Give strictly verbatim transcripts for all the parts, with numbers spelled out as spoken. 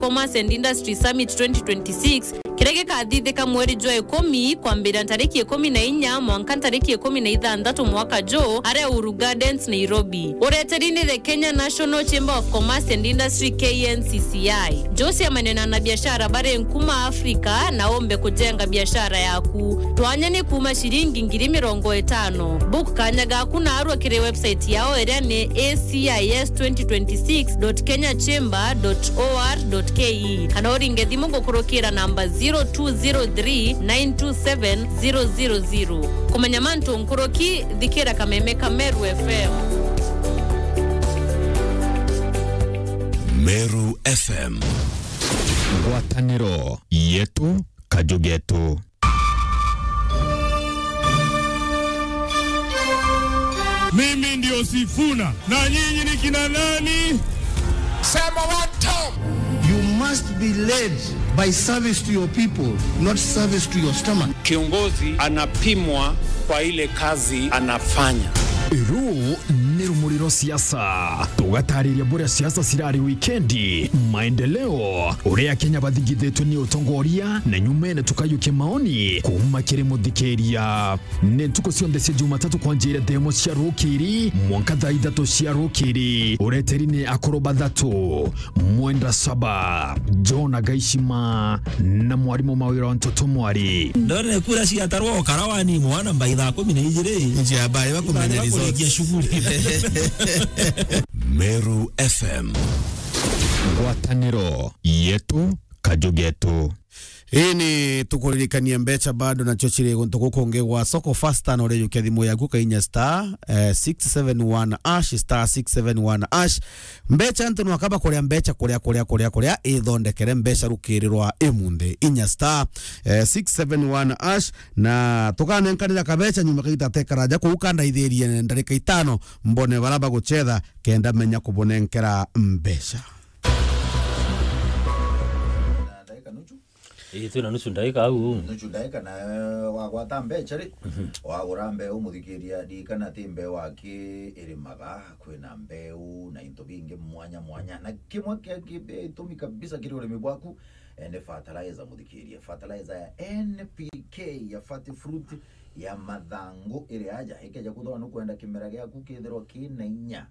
Commerce and Industry Summit twenty twenty-six, kiria gikathithika mweri jwa ikumi, kwambiria ntariki ikumi na inya mwanka ntariki ikumi na ithanthatu mwaka juu, aria Uhuru Gardens, Nairobi. Ureteri ni the Kenya National Chamber of Commerce and Industry, K N C C I. Jose amenena na biashara bari nkuma Afrika na umbe kujenga biashara yaku. Twanya ni kuuma ciringi ngiri mirongo itano. Book kanya gaku na arua kiri website yao iria ni A C I S twenty twenty-six dot kenya chamber dot O R dot K E, kana uringe thimu gukurukira namba zero two zero three nine two seven zero zero zero. Kumenya mantu nkuruki, thikira kameme ka Meru F M. Meru F M. Ngwataniro yetu, kaju getu. Mimi ndio Sifuna. Na nyinyi ni kina nani? Sema one time. You must be led by service to your people, not service to your stomach. Kiongozi anapimwa kwa ile kazi anafanya. Ruu ni rumuri rwa siasa. Tugatariria buria siasa cirari wikendi, maendeleo, uria Akenya bathingithitwe ni utongoria, na nyumene tukayukia maoni kuuma kiri muthikiria. Ni ntuku cionthe cia Jumatatu kwanjia thaa imwe cia rukiri mwanka thaa ithatu cia rukiri. Ureteri ni akuru bathatu, Mwenda Saba, John Agaishima, na mwarimu Mawira wa Ntoto Mwari. Ndone kura ciatarwo Karawani mwana mbai thaa kumi na ijiri. Nji habari bakumenya results. Kurikia shughuli. Meru F M. Ngwataniro yetu, kaju getu. Ii ni tukuririkania mbeca bado nacio ciri guntu guku kungi gwa soko fasta, na urijukia thimu yaku kainya star, eh, six seven one hash, star six seven one hash. Mbeca antu nwakaba kuria mbeca kuria, kuria, kuria, kuria, ithondekere mbeca rukiri rwa imunthi. Inya star, eh, six seven one hash, na tukanenkanira kabeca nyuma kaita tekaraja kuu kandaithirie ndarika itano mbone bara bagucetha kenda menya kubunenkera mbeca. Ii, twina nusu ndaika au. Nusu ndaika na, eh, wagwata mbeca ri, mhm, wagura mbeu, muthikiria, ririkana ti mbeu aki irimaga, kwina mbeu na into bingi mwanya mwanya, na kimwe kia ki-, gitumi kabisa kiri urimi bwaku, eh, ni fertilizer, muthikiria. Fertilizer ya N P K ya Fat Fruit ya mathangu iri aja, ikeja kuthwa nukwenda kimera giaku kithirwa kina inya.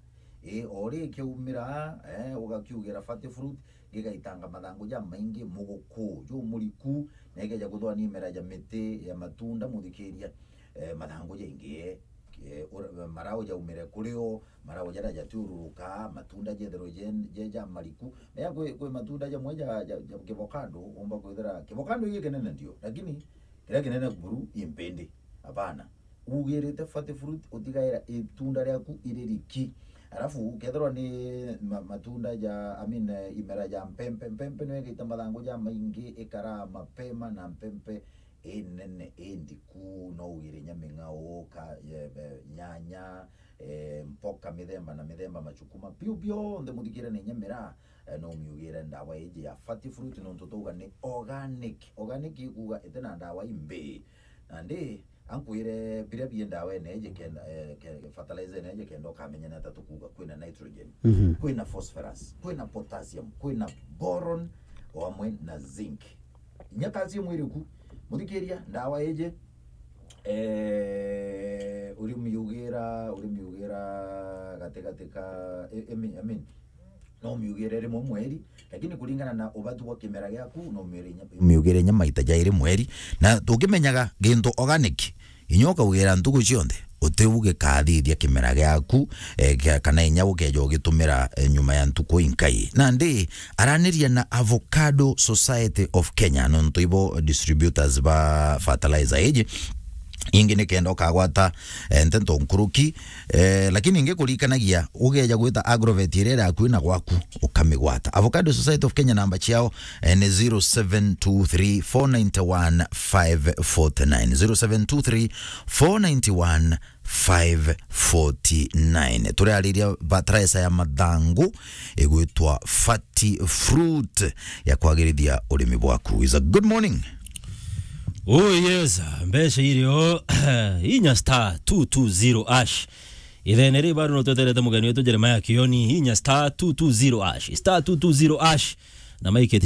Ii, o rikiumira, eh, ugakiugira Fat Fruit, gigaitanga mathangu jamaingi, muguku jumuriku, na ikeja kuthwa ni imera ja miti ya matunda, muthikiria, eh, mathangu jaingi, eh, ura-, marau jaumire kuri o, marau jaria jatiururuka, matunda jethirwe je, je jamariku. Menya kwi, kwi matunda jamwe ja, ja, ja kivocado, umba kwithira kivocado giki kinene ndio, lakini kiria kinene buru i mpindi. Hapana. Ugirite Fat Fruit, utigaira itunda riaku iri riki. Alafu, kethirwa ni ma-, matunda ja, I mean, eh, imera ja mpempe, mpempe niyo igaita mathangu jamaingi, ikaraa mapema, na mpempe inene, indiku, no ugire inya ming'ao, ka-, eh, eh, nyanya, eh, mpoka mithemba na mithemba, machukuma, biu bionthe muthikire na inya miraa, eh, no umiugire ndawa iji ya Fat Fruit, nontu twauga ni organic. Organic ikuuga iti na ndawa imbi. Nandi, ankwire biria bie ndawa ene iji kenda, eh, ke-, fertilizer ene iji kenda ukamenya ni ata tukuuga. Kwina nitrogen, mhm, kwina phosphorus, kwina potassium, kwina boron, o amwe na zinc. Inya calcium iri ku. Muthikiria, ndawa iji, eh, urimiugira, urimiugira gatigati ka, I, I mean, I mean, no umiugire rimwe mweri, lakini kuringana na ubatu bwa kimera giaku, no umiugire inya, umiugire inya maita jairi mweri. Na tukimenyaga gintu organic, inya ukaugira ntuku cionthe, utiu gikathithia kimera giaku, eh, kia-, kana inya ukeja ugitumira, eh, nyuma ya ntuku inkai. Nandi, araniria na Avocado Society of Kenya, nontu ibo distributors ba fertilizer iji. Ingi ni kenda ukagwata, eh, nteto nkuruki, eh, lakini ingi kurikanagia, ugeja gwita Agrovet iria iri akui na gwaku, ukamigwata. Avocado Society of Kenya, namba ciao, eh, ni zero seven two three four nine one five forty nine, zero seven two three four nine one five forty nine. Turariria fertilizer ya mathangu igwitwa Fat Fruit ya kwagirithia urimi bwaku. Is a good morning. Oh yes, mbeca irio, inya star two two zero hash. Ithene ri bado no tweterete mugeni wetu Jeremiah Kioni, inya star two two zero hash, star two two zero hash. na maikite